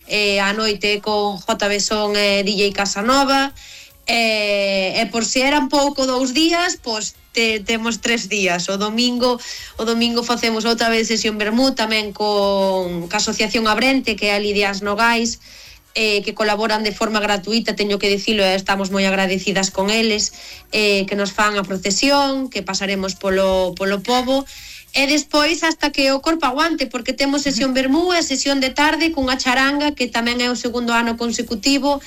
a noite con JB Son e DJ Casanova, e por se eran pouco 2 días, pois temos 3 días. O domingo facemos outra vez sesión vermú tamén ca Asociación Abrente, que é a Lidias Nogais, que colaboran de forma gratuita, teño que dicilo, e estamos moi agradecidas con eles, que nos fan a procesión, que pasaremos polo pobo, e despois hasta que o corpo aguante, porque temos sesión vermú e sesión de tarde cunha charanga, que tamén é o segundo ano consecutivo,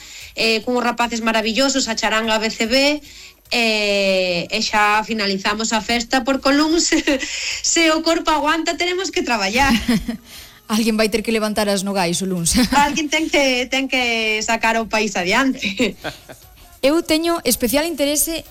cunhos rapaces maravillosos, a charanga BCB, e xa finalizamos a festa, porque o luns se o corpo aguanta teremos que traballar. Alguén vai ter que levantar as nogais o luns. Alguén ten que sacar o país adiante. Eu teño especial interese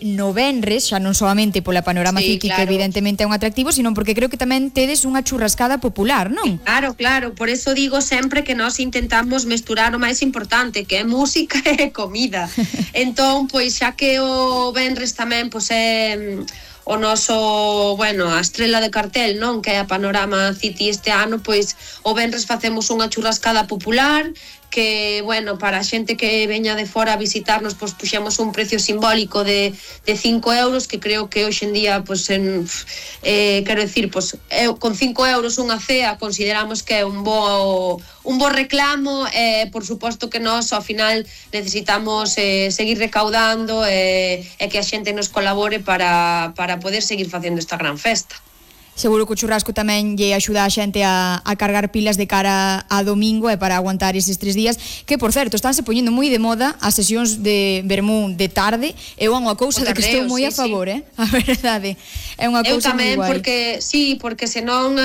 no venres, xa non solamente pola Panorama Ciki, claro, que evidentemente é un atractivo, sino porque creo que tamén tedes unha churrascada popular, non? Claro, por eso digo sempre que nós intentamos mesturar o máis importante, que é música e comida. Entón, pois xa que o venres tamén pois é o noso, a estrela de cartel, non, que é a Panorama City este ano, pois o venres facemos unha churrascada popular, que, para a xente que veña de fora a visitarnos, pois puxemos un precio simbólico de 5 euros, que creo que hoxe en día, quero dicir, con 5 euros unha cea consideramos que é un bo reclamo, e por suposto que nós ao final necesitamos seguir recaudando e que a xente nos colabore para poder seguir facendo esta gran festa. Seguro que o churrasco tamén lle axuda a xente a cargar pilas de cara a domingo e para aguantar eses 3 días, que, por certo, estánse poñendo moi de moda as sesións de vermú de tarde. É unha cousa de que estou moi a favor, a verdade. É unha cousa moi guai. Porque senón,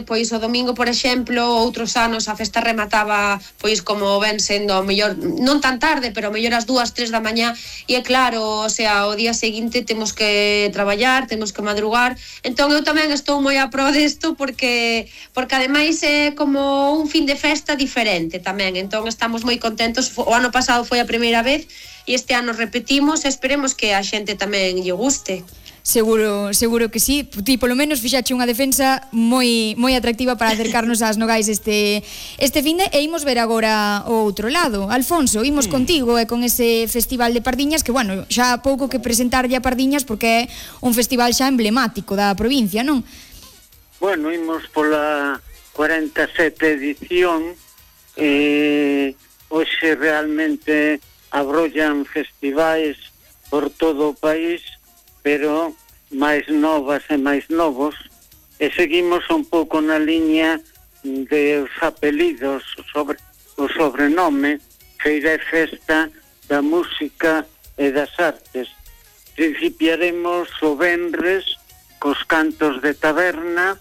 pois o domingo, por exemplo, outros anos a festa remataba, pois como ven sendo, ao mellor, non tan tarde, pero ao mellor as 2, 3 da mañá, e é claro, o día seguinte temos que traballar, temos que madrugar. Entón eu tamén estou moi a pro desto, porque ademais é como un fin de festa diferente tamén, entón estamos moi contentos. O ano pasado foi a primeira vez e este ano repetimos, e esperemos que a xente tamén lle guste. Seguro que sí. Ti polo menos fixache unha defensa moi atractiva para acercarnos ás nogais este finde, e imos ver agora o outro lado. Alfonso, imos contigo e con ese festival de Pardiñas, que xa pouco que presentarlle a Pardiñas, porque é un festival xa emblemático da provincia, non? Imos pola 47 edición, hoxe realmente abrollan festivais por todo o país, pero máis novas e máis novos, e seguimos un pouco na liña de os apelidos, o sobrenome, Feira e Festa da Música e das Artes. Principiaremos o venres cos cantos de taberna,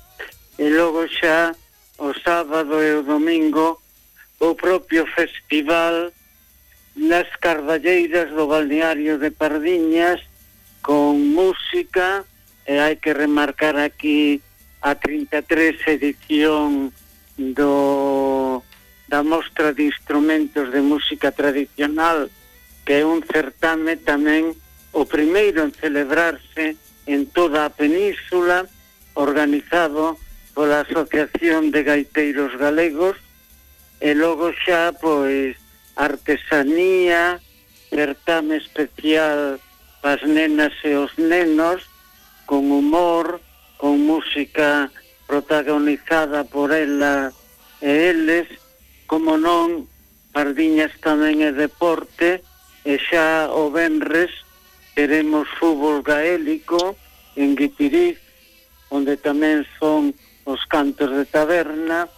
e logo xa o sábado e o domingo o propio festival nas Cardalleiras do balneario de Pardiñas, con música, e hai que remarcar aquí a 33 edición da Mostra de Instrumentos de Música Tradicional, que é un certame tamén o primeiro en celebrarse en toda a península, organizado pola Asociación de Gaiteiros Galegos, e logo xa, artesanía, certame especial as nenas e os nenos, con humor, con música protagonizada por ela e eles, como non, Pardiñas tamén é deporte, e xa o venres teremos fútbol gaélico en Guitiriz, onde tamén son os cantos de taberna,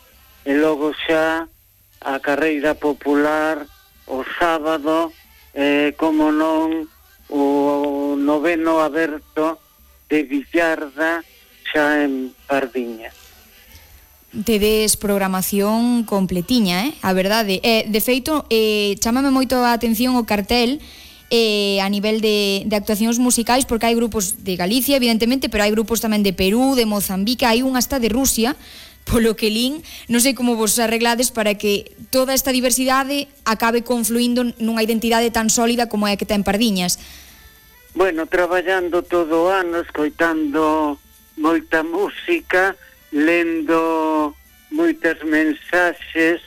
e logo xa a carreira popular o sábado, como non, o noveno aberto de Villarda, xa en Pardiñas. Tedes programación completiña, a verdade. De feito, chámame moito a atención o cartel a nivel de actuacións musicais, porque hai grupos de Galicia, evidentemente, pero hai grupos tamén de Perú, de Mozambique, hai un hasta de Rusia, polo que lín. Non sei como vos arreglades para que toda esta diversidade acabe confluindo nunha identidade tan sólida como é que ten Pardiñas. Traballando todo o ano, escoitando moita música, lendo moitas mensaxes,